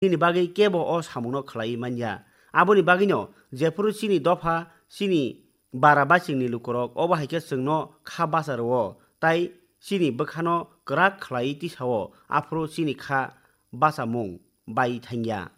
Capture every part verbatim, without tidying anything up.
nini bagwi kebo o samungno khlaiwi man ya. Aboni bagwino jephuru chini dopha, chini bara bachingni lukurok obo hai khe chwngno kha bacha rwo, tai chini bwkhano kwrak khlaiwi tisao, aphuru chini kha bachamung bai thangya.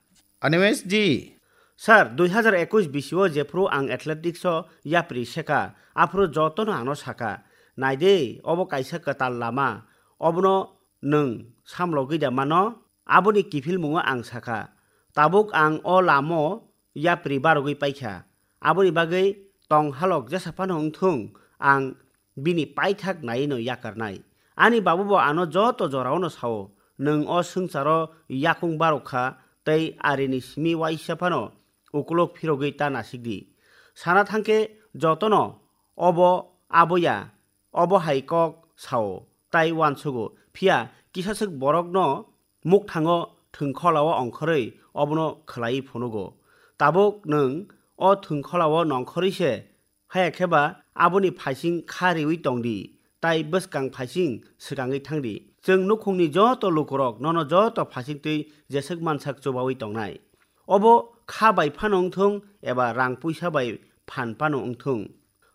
Animesh ji. Sir, dui hazar ekush bisio jephuru ang athletics o yapri seka, aphuru jotono ano saka, "Naide, obo kaisa kwtal lama, obono nwng samlogwi da mano?" Aboni kiphilmungo ang saka, "Tabuk ang o lamo yapri barogwi paikha, aboni bagwi tong halok jesa phano wngthung, ang bini paithak naiwi no yakarnai." Ani babu bo ano joto jorao no sao, "Nwng o swngcharo yakung barok kha, tei arini simi waisa phano ukulok phirogwi ta nasik di." Sana thangkhe jotono obo aboya, obo hai kok sao, tai uansugo. Phiya kisaswk borokno mukthango thwngkholao ongkhorwi obono khwlaiwi phunugo. Tabuk nwng o thwngkholao nongkhorwi se, haya khe ba aboni phaising kha riwi tong di, tai bwskang phaising swkangwi thang di. Chwng nukhungni joto lukurok nono joto phaisingtwi jeswk mansak chubawi tongnai. Obo kha bai phano wngthung eba rang puisa bai phan phano wngthung,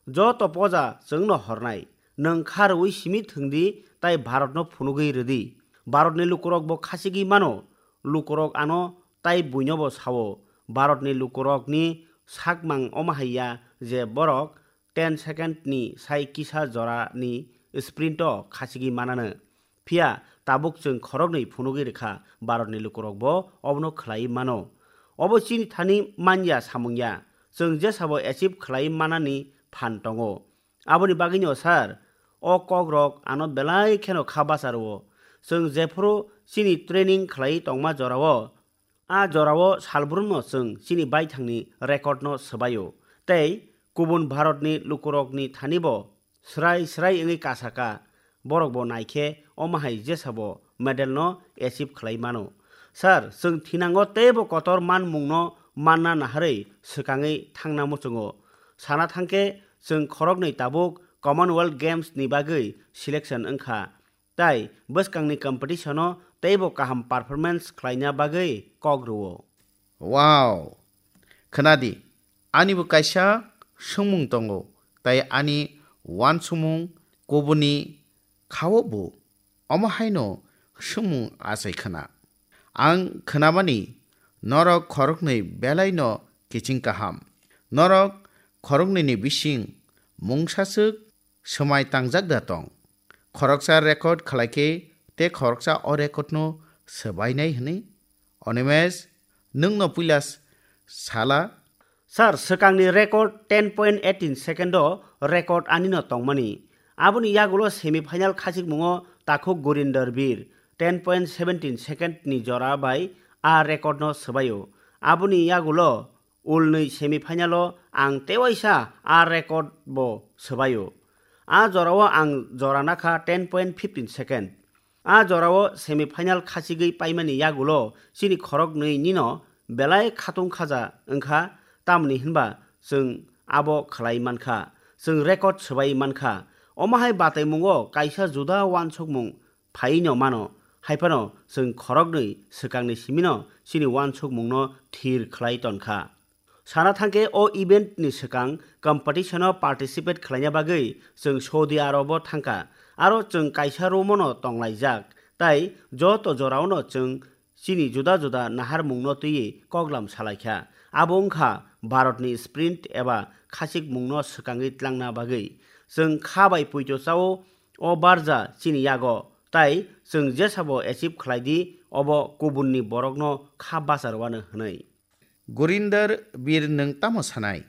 joto poja chwngno hornai. Nwng kha rwui simi thwng di tai Bharatno phunugwi rw di. Bharatni lukurok bo khachigwi mano. Lukurok ano tai buino bo sao. Bharatni lukurokni sakmang omo hai ya je borok ten second ni sai kisa jora ni sprint o khachigwi manano. Phiya tabuk chwng khoroknwi phunugwi rwkha, Bharatni lukurok bo obono khlaiwi mano. Obo chini thani man ya samung ya, chwng jesabo achieve khlaiwi manani phan tongo. Aboni bagwino sir, o kokrok ano belai kheno kha bacha rwo. Chwng jephuru chini training khlaiwi tongma jorao, a jorao salbrumno chwng chini baithangni record no swbaio, tei kubun Bharatni lukurokni thani bo srai srai wngwi kasaka, borok bo naikhe omo hai jesabo medal no achieve khlai mano. Sir, chwng thinango teibo kotor manmungno manna naharwi swkangwi thangna muchungo. Sana thangkhe chwng khoroknwi tabuk Commonwealth Games ni bagwi selection wngkha. Tai bwskangni competition-o teibo kaham performance khlaina bagwi kok rwo. Wow! Khwnadi, anibo kaisa swngmung tongo, tai ani uansukmung kubuni khao bo omo haino swngmung achai khna. Ang khnamani norok khoroknwi belaino kiching kaham. Norok khoroknwini bising mungsaswk swmai tangjak da tong. Khoroksa record khlai khe tei khoroksa o record no swbainai hwnwi. Onimesh, nwng no puila s-, sala? Sir, swkangni record ten point eighteen second o record ani no tongmani. Aboni yagulo semi final khachikmungo takhuk Gurinder Bir ten point seventeen second ni jora bai a record no swbaio. Aboni yagulo ulnwi semi final o ang tewaisa a record bo swbaio. A jorao ang jora nakha ten point fifteen second. A jorao semi final khachigwi paimani yagulo chini khoroknwi nino belai khatung khaja wngkha, tamni hinba chwng abo khlai mankha, chwng record swbai mankha. Omo hai bataimungo kaisa juda uansukmung phaino mano, haiphano chwng khoroknwi swkangni simino chini uansukmungno thir khlai tonkha. Sana thangkhe o event ni swkang competition o participate khlaina bagwi chwng Saudi Arab o thangkha, aro chwng kaisa room o no tonglaijak, tai joto jorao no chwng chini juda juda naharmung no twiwi koklam salaikha. Abo wngkha Bharat ni sprint eba khachikmung no swkangwi tlangna bagwi. Chwng kha bai puito chao, o barja chini yago, tai chwng jesabo achieve khlai di, obo kubun ni borok no kha bachar wano hwnwi. Gurinder Bir, nwng tamo sanai?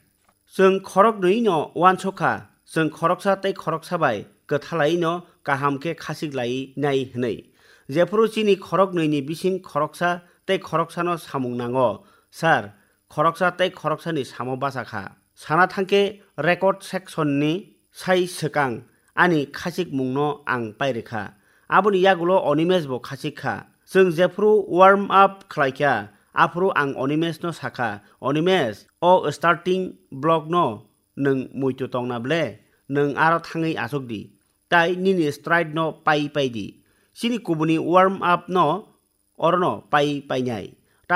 Chwng khoroknwi no uansukha, chwng khoroksa tei khoroksa bai kwthalai no kaham khe khachik lai nai hwnwi. Jephuru chini khoroknwi ni bising khoroksa tei khoroksa no samung nango, sir, khoroksa tei khoroksa ni samo bachakha. Sana thangkhe record section ni sai swkang ani khachikmung no ang pairikha. Aboni yagulo Onimesh bo khachikha. Chwng jephuru warm up khlaikha, aphuru ang Onimesh no sakha, "Onimesh, o starting block no nwng muitu tongna ble, nwng aro thangwi achuk di, tai nini stride no pai pai di. Chini kubuni warm up no orono pai painai."